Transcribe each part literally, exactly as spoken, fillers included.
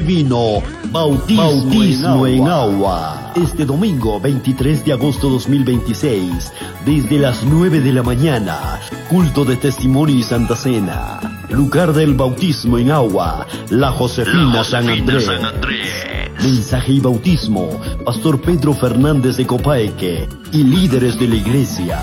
Divino, Bautismo, Bautismo en, agua. Este domingo veintitrés de agosto dos mil veintiséis, desde las nueve de la mañana, culto de testimonio y Santa Cena. Lugar del bautismo en agua, La Josefina, La Josefina San Andrés. San Andrés. Mensaje y bautismo, Pastor Pedro Fernández de Copaeque y líderes de la iglesia.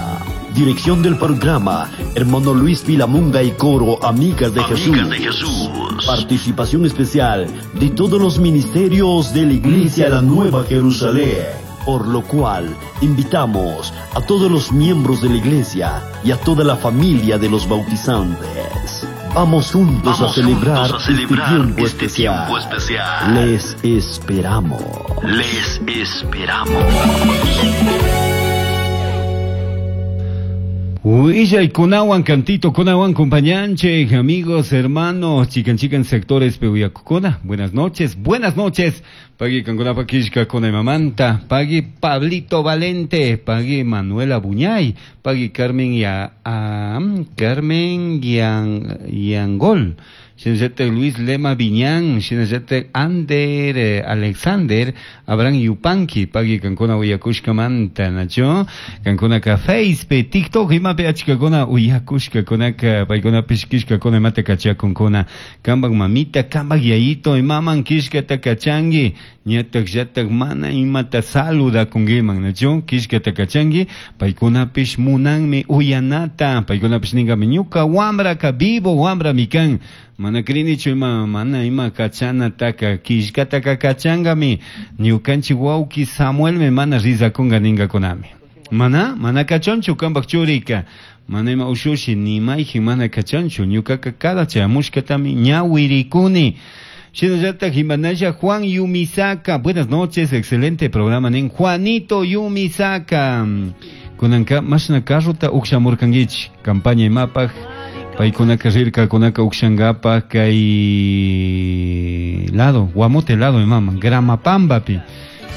Dirección del programa, hermano Luis Vilamunga y coro Amigas de, Amigas Jesús. de Jesús. Participación especial de todos los ministerios de la Iglesia La Nueva Jerusalén. Por lo cual, invitamos a todos los miembros de la iglesia y a toda la familia de los bautizantes. Vamos juntos, Vamos a, celebrar juntos a celebrar este tiempo, este especial. tiempo especial. Les esperamos. Les esperamos. Huilla kunawan cantito, kunawan compañanche, amigos, hermanos, chican chican sectores peuyacocona. Buenas noches, buenas noches. Pagui Canconapa Kishka Mamanta, pagui Pablito Valente, pagui Manuela Buñay, pagui Carmen ya um, Carmen Yan Yangol. Shinazete Luis Lema Viñán, Shinazete Ander eh, Alexander, Abraham Yupanqui, pagui kankuna uyakushka manta, nacho, kankuna ka Facebook, TikTok, imapi achkakuna uyakushka kunaka, paykuna pishkishka kuna imata kachakunkuna, kambak mamita, kambak yayito, imaman kishkata kachangi, ñatak llatak mana imata saludakunkiman, nacho, kishkata kachangi, paykunapish munanmi uyanata, paykunapish ninkami ñuka wambraka vivo wambra mikan, mana krinichu ima mana ima kachanataka kishkataka kachangami ñukanchik wawki Samuelmi mana rizakunga ningakunami mana mana kachanchu kambak churika mana ima ushushi ni mayjin mana kachanchu ñukaka cada chayamushkatami ñawirikuni. Shinallata Jimanaya Juan Yumisaka, buenas noches, excelente programa nin Juanito Yumisaka kunanka mashna carrota ukshamurkankichik campaña imapaj paykunaka rirkakunaka ukshankapa kay lado Guamote lado imama Gramapambapi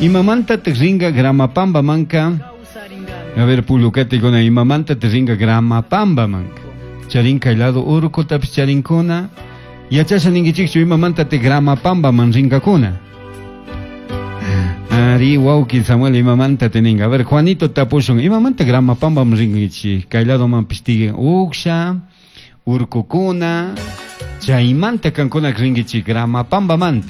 imamantataq rinka Gramapamba manka a ver pullukatikuna imamantataq rinka Gramapamba manka charin kay lado urkutapis charinkuna yachasha ninkichikchu imamantataq Gramapamba man rinkakuna. Ari wawki Samuel imamanta teninga. A ver Juanito tapushun imamanta Gramapamba man rinkichik kay lado man pishtigin uksha urkukuna chaymanta kankuna rinkichik Gramapamba manta.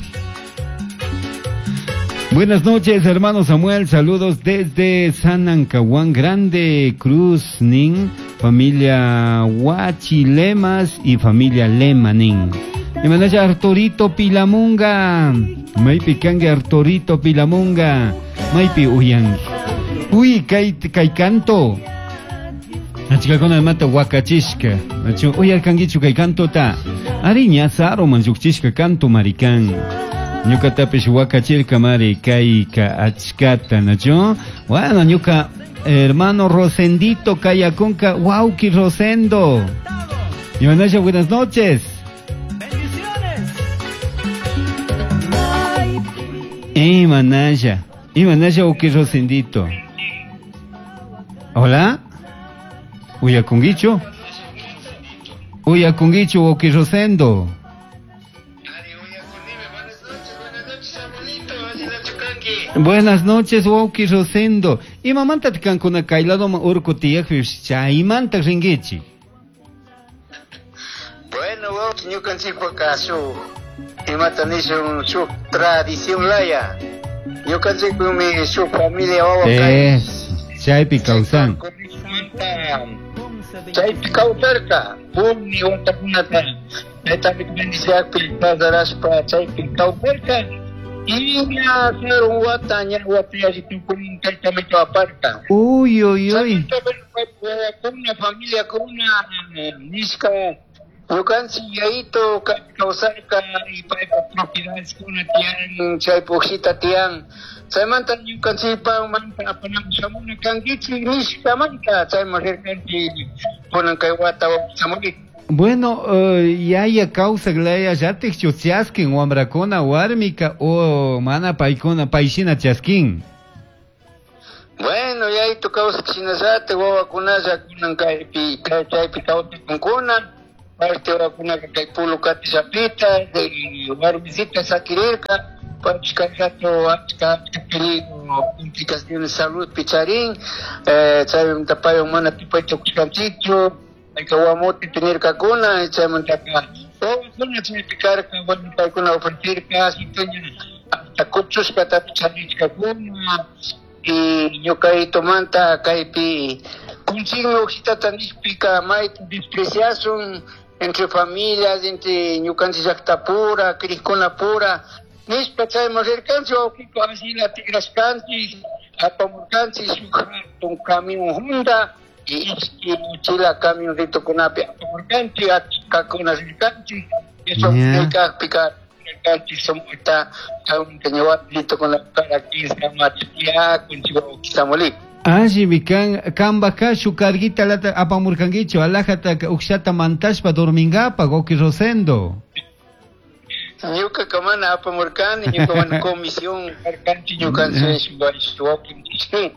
Buenas noches, hermano Samuel, saludos desde San Ancahuán Grande, Cruz Nin, familia Huachilemas y familia Lemanin. Y manaya Arturito Pilamunga, maypi kanki Arturito Pilamunga, maypi uyanki. Uy, kay, kay canto. Achikakuna mata wakachishka, uyarkankichu kay cantota. Ari ña saruman llukchishka canto marikan. Ñukatapish wakachirka mari kayka achkata, nacho. Bueno, ñuka hermano Rosendito Kayakunka, wauki Rosendo. Y buenas noches. Bendiciones. Imanaya, Imanaya wauki Rosendito. Hola. Uyakungichu? Uyakungichu wauki Rosendo. Buenas noches, wauki Rosendo. Imamanta kankuna kay ladoman urku tiyaqpish chaymanta rinkichik. Bueno, wauki ñukanchikpaka shuk imata nishun shuk tradición laya. Ñukanchikpimi shuk familia wawa kay. Es, chaypi kawsan. Chaypi kawsarka, puni watakunata chaytami bendiciakpi pasarashpa chaypi kawsarka. Y ña sarun wata ña wata tukunin kaytamito aparta. Uy, uy, uy. Kuna familia kuna nishka ñukanchik yayito kawsarka y paypa propiedades kuna tiyan chay pujita tiyan. Chaymanta ñukanchikpa manta apanam shamuna kankichik nishkamanta chayman rirkanchik kunan kay wata shamunki. Bueno, uh, yaya kawsak laya llatikchu chaskin wamrakuna warmika o mana paykuna payshina chaskin. Bueno, yayito kawsak shinallata wawakunalla kunan kaypi chaypi kawsakunkuna. Parte wawakunaka kay Pulucate llapita warmisita sakirirka paypish kay rato achka achka peligro complicaciones saludpi charin chaymanta paywan mana tupay tukushkanchikchu payka Guamotepi nirkakuna chaymantaka wawakuna chaypi karka bueno paykuna ofrecerka asituña hasta kuchushkatapish charishkakuna y ñukayitumanta kaypi kunchikmi hojitata nishpika mayta despreciasun entre familias, entre ñukanchik llaqtapura, crikkunapura nishpa chayman rirkanchik wawqiko asina tigrashkanchik apamurkanchik shuk hatun camión hunda y ishki mochila camionritukunapi apamurkanchik achkakuna rirkanchik eso kajpika rirkanchik sumaqta chaymunta ña warmitukuna cada quince machiyakun wawqi Samuelito. Allimi kan kambaka shuk carguita lata apamurkankichu alajata ukshata mantashpa dormingapaq wawqi Rosendo. Ñuka mana apamurkani ñuka mana comisión karkanchik ñukanchik wawqinchik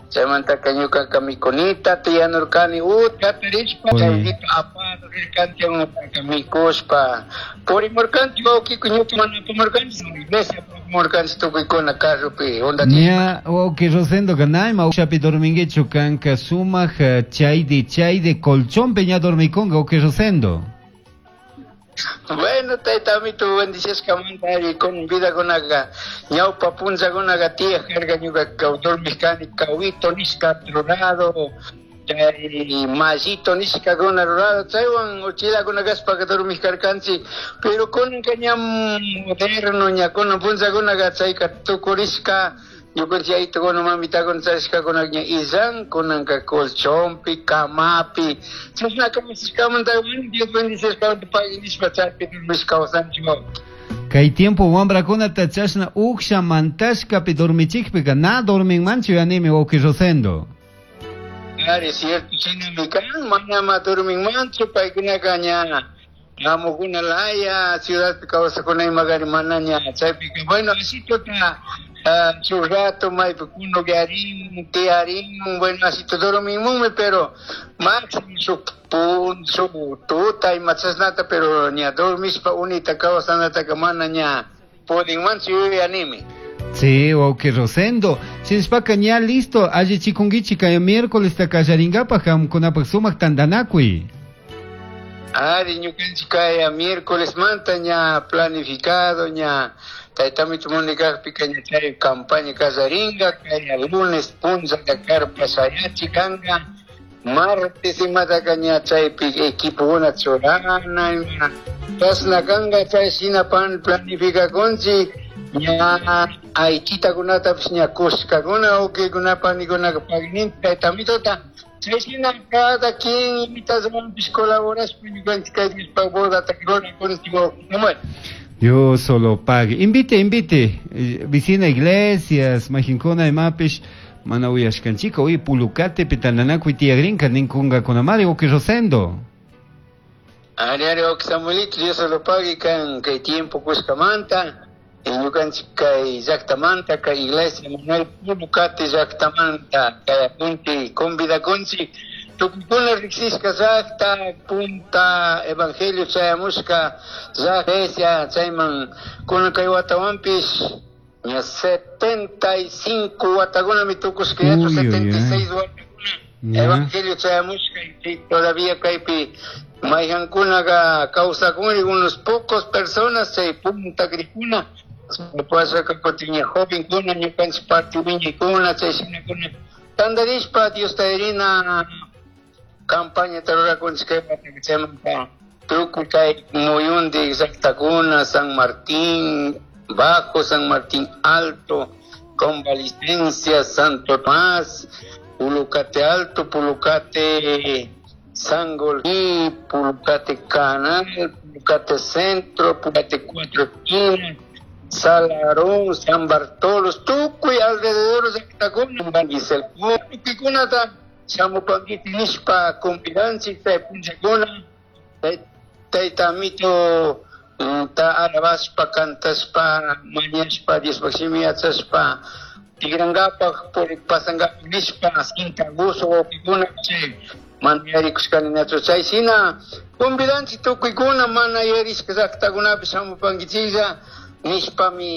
chaymantaka ñukaka mikunita tiyanurkani utka tarishpa chayrito apado rirkanchik mikushpa purimurkanchik wawqiku ñuka mana apamurkanchik iglesia apamurkanchik tukuykuna carropi hundachishpa. Ña wawqi Rosendo nayma ukshapi dorminkichu kanka sumaq chaydi chaydi colchonpi ña dormikunka wawqi Rosendo. Bueno, tayta amito bendiciashkamanta ari con vida kunaqa ñawpa punllakunaqa tiyaq karka ñuka dormishkani kawito nishka rurado chay mallito nishkakuna rurado chaywan uchilakuna kashpaka dormishkarkanchik pero kunanka ña moderno ña kunan punllakunaqa chayka tukurishka ñukanchik yayitukuna mamitakuna charishkakuna ña illan kunanka colchonpi camapi chashna kawsashkamanta Dios bendicishkamanta pagui nishpa chaypi dormish kawsanchik. Kay tiempo wamrakunata chashna uksha mantashkapi dormichikpika na dorminmanchu yanimi wawqi Rosendo. Ari cierto shinami kan manama dorminmanchu paykunaka ña amukuna laya ciudadpi kawsakuna imagari mana ña chaypika bueno asituta shuk rato maypi kunuyarin tiyarin bueno asito dorminmunmi pero máximo shuk pun shuk tuta ima chashnata pero ña dormishpa unita kawsanataka mana ña pudinmanchu yuyanimi. Sí, wawqi Rosendo. Shinashpaka ña listo allichikunkichik kay miércoles takallarinkapak qamkunapaq sumaq tantanakuy. Ari ñukanchik kay miércoles manta ña planificado ña taytamitu munikakpika ña chay campaña kallarinka kay lunes punllaka carpa shayachi kanka martes imataka ña chaypi equipokuna churana ima chashna kanka chay shina pan planificakunchik ña aychitakunatapish ña kushkakuna wawqikuna panikunaka pagninchik taytamitota chay shina cada quien imitawanpish colaborashpa ñukanchik kay Diospaq bodata rurakunchik wawqi. Dios solo pague. Invite, invite. Vicina iglesias, majinkuna imapish mana uyashkanchika uy Pulucate pitananakuy tiyagrinka ninkunkakunamari wawqi Rosendo. Ari ari wawqi Samuelito Dios solo pague kan kay tiempo kushkamanta ñukanchik kay llaqtamanta kay iglesia Manuel Pulucate llaqtamanta kay apunti convidakunchik tukuykuna riqsishka llaqta punta evangelio chayamushka iglesia chayman kunan kay watawanpish ña setenta y cinco watakunami tukushka yachu setenta y seis watakuna evangelio chayamushka y todavía kaypi mayhankunaqa kawsakunri unos pocos personas chay punta krikuna pasaka kutin ña jovenkuna ñukanchik parte wiñaykuna chay shinakuna tantarishpa Diosta rina campaña rurakunchik kay wataka chaymanta tukuy kay muyundik llaqtakuna San Martín Bajo, San Martín Alto, Convalecencia, Santo Tomás, Pulucate Alto, Pulucate Sangolquí, Pulucate Canal, Pulucate Centro, Pulucate Cuatro Esquinas, Salarón, San Bartolo, tukuy alrededor llaqtakuna, tukuy shamupankiti nishpa convidanchik chay punllakuna tayta amito ta alabashpa cantashpa mañashpa Diospaq shimi yachashpa tigrankapaq pasankapaq nishpa sinta gusto wawqikuna chay Mana yarikushkaninachu. Chay shina convidanchik tukuykuna mana yarishka llaktakunapi shamupankichiklla nishpami.